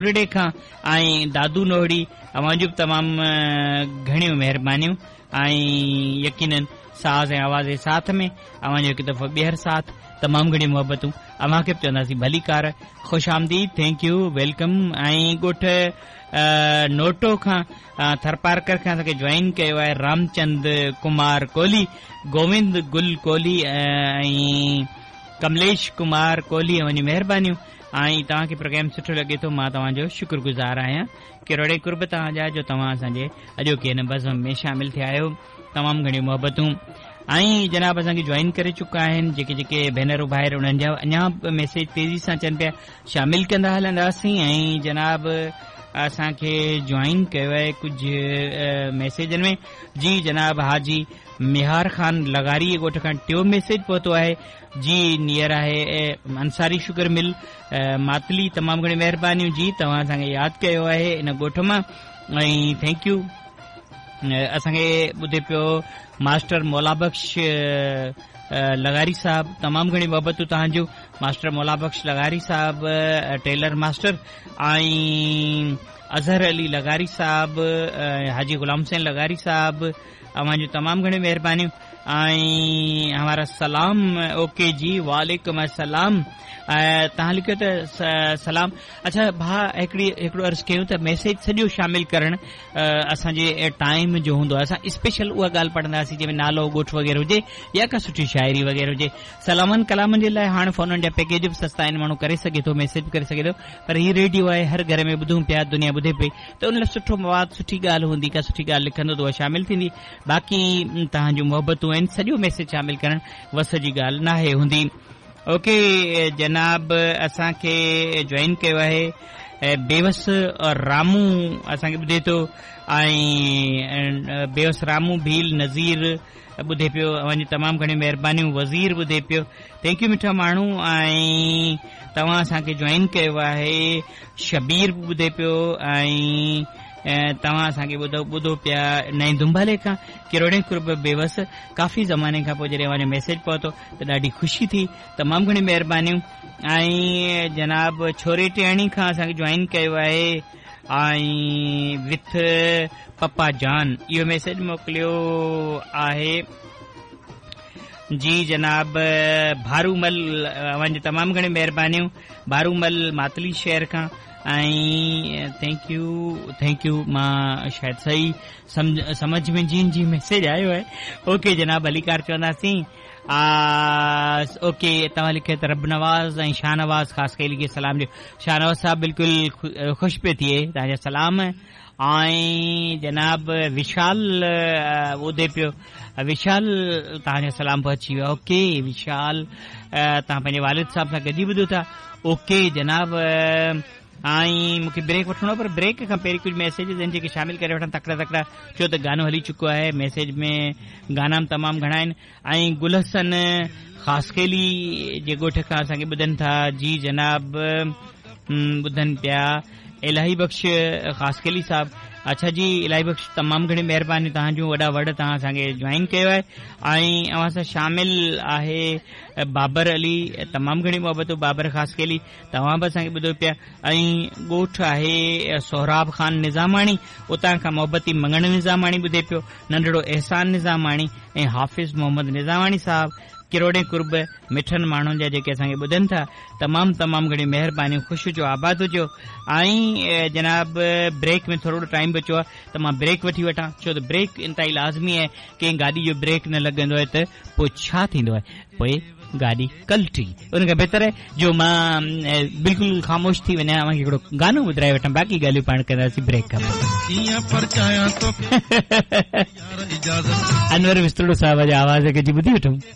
نوهڙي کان ۽ دادو نوهڙي اوهان جون به تمام گهڻيون مهربانيون ۽ يقينن ساز ۽ آواز جي ساٿ ۾ اوهان جو هڪ دفعو ٻيهر ساٿ تمام گهڻيون محبتون اوهان کي به چونداسين ڀليڪار خوش آمديد thank you welcome ۽ ڳوٺ نوٽو کان ٿرپارڪر کان اسان کي جوائن ڪيو آهي رامچند ڪمار ڪولهي گووند گل ڪولهي ۽ ڪمليش ڪمار ڪولهي اوهان جون مهربانيون ۽ توهان کي پروگرام سٺو لڳي ٿو مان توهان جو شڪر گذار آهيان ڪروڙين قرب توهان جا جو توهان اسان جي اڄوڪي هن بزم ۾ شامل ٿيا آهيو تمام گهڻيون محبتون ۽ جناب اسان کي جوائن ڪري چڪا آهن جيڪي جيڪي ڀينرون ڀائر انهن جا اڃا به ميسيج تيزي سان اچن پيا شامل ڪندا هلنداسين ۽ جناب اسان کي جوائن ڪيو آهي ڪجهه ميسيجن ۾ جي جناب حاجي ميهار خان لغاري ڳوٺ کان ٽيون ميسيج پهتو آهي جي نيئر آهي انصاري شگر مل ماتلي تمام گهڻي مهربانيون جي توهان اسان کي ياد ڪيو آهي ان ڳوٺ مان ۽ thank you اسان کي ٻڌي پيو ماسٽر مولا بخش لغاري صاحب تمام گهڻي محبتون توهان جون ماسٽر مولا بخش لغاري صاحب ٽيلر ماسٽر ۽ اظهر علي لغاري صاحب حاجي غلام حسين لغاري صاحب اوهان جون تمام گهڻيون مهربانيون ۽ همارا سلام اوڪي جي وعليڪم السلام توهان لکيو ته سلام اڇا ڀاء هڪڙي هڪڙو عرض ڪيون ته ميسيج سڄو شامل ڪرڻ اسان جي ٽائيم جو هوندو آهي اسان اسپيشل اها ڳالهه پڙهنداسين جنهن ۾ نالو ڳوٺ وغيره هجي يا ڪا سٺي شاعري وغيره هجي سلامن ڪلامن جي لاء هاڻ فونن جا پيڪيج به سستا آهن ماڻهو ڪري سگهي ٿو ميسيج به ڪري سگهي ٿو پر هي ريڊيو آهي هر گهر ۾ ٻڌون پيا دنيا ٻڌي پئي ته ان لاء سٺو مواد سٺي ڳالهه هوندي ڪا سٺي ڳالهه لکندو ته اها شامل ٿيندي باقي توهان جون محبتون آهن سڄو ميسيج شامل ڪرڻ وس جي ڳالهه ناهي هوندي اوڪي جناب اسان کي جوائن ڪيو آهي بيوس رامو اسان کي ٻڌي ٿو ۽ بيوس رامو ڀيل نظير ٻڌي پيو اوهان جون تمام گهڻيون مهربانيون وزير ٻڌي پيو thank you مٺا ماڻهو ۽ توهان اسان کي جوائن ڪيو آهي شبير به ٻڌي پيو ۽ توهان اسان کي ٻڌو ٻڌو پيا نئين دنبالي کان ڪروڙين قرب بيوس ڪافي زماني کان پوء جڏهن اوهان جو ميسيج پهتو ته ڏاڍي خوشي ٿي تمام گهڻي مهربانيون ۽ جناب ڇوري ٽياڻي کان اسان کي جوائن ڪيو آهي ۽ وٿ پپا جان اهو ميسيج موڪليو آهي جي جناب ڀارومل اوهان جون تمام گهڻيون مهربانيون ڀارومل ماتلي شهر کان ۽ thank you thank you مان شايد صحيح سمجه ۾ جي جي ميسيج آيو آهي اوڪي جناب ڀليڪار چونداسين اوڪي توهان لکيو ته رب نواز ۽ شاهنواز خاصخيلي کي سلام ڏيو شاهنواز صاحب بلڪل خوش پيو ٿئي توهان جا سلام ۽ جناب وشال ٻڌي پيو وشال توهان جو سلام پهچي ويو اوڪي وشال توهان پنهنجي والد صاحب سان گڏجي ٻڌو ٿا اوڪي جناب ۽ مون کي بريڪ وٺڻو پر بريڪ کان پهرين ڪجهه ميسيجز آهن جيڪي شامل ڪري وٺان تڪڙا تڪڙا ڇو ته گانو هلي چڪو آهي ميسيج ۾ گانا به تمام گهڻا آهن ۽ گل حسن خاصخيلي جي ڳوٺ کان اسان کي ٻڌن ٿا جي جناب ٻڌن پيا الاهي بخش خاصخيلي صاحب اڇا جي الاهي بخش تمام گهڻي مهرباني توهان جون وڏا وڙ توهان اسان کي جوائن ڪيو آهي ۽ اوهان سان شامل آهي بابر علي تمام گهڻي محبتون بابر خاصخيلي توهان به اسان کي ٻڌو پيا ۽ ڳوٺ آهي سهراب خان نظاماڻي اتان کان محبتي مڱڻ نظاماڻي ٻڌي پيو ننڍڙو احسان نظاماڻي ۽ حافظ محمد نظاماڻي صاحب ڪروڙين قرب مٺن ماڻهن جا جيڪي اسان کي ٻڌن ٿا تمام تمام گهڻيون مهربانيون خوش هجو آباد هجو ۽ جناب بريڪ ۾ ٿورڙو ٽائيم بچو آهي ته مان بريڪ وٺي وٺان ڇو ته بريڪ انتهائي لازمي آهي ڪنهن گاڏي جو بريڪ نه لڳندو آهي ته پوء ڇا ٿيندو آهي پوء گاڏي ڪلٽي ان کان بهتر آهي جو مان بلڪل خاموش ٿي وڃان اوهان کي هڪڙو گانو ٻڌرائي وٺان باقي ڳالهيون پاڻ ڪنداسين بريڪ کان پوء. انور وسطڙو صاحب جي آواز کي جي ٻڌي وٺون.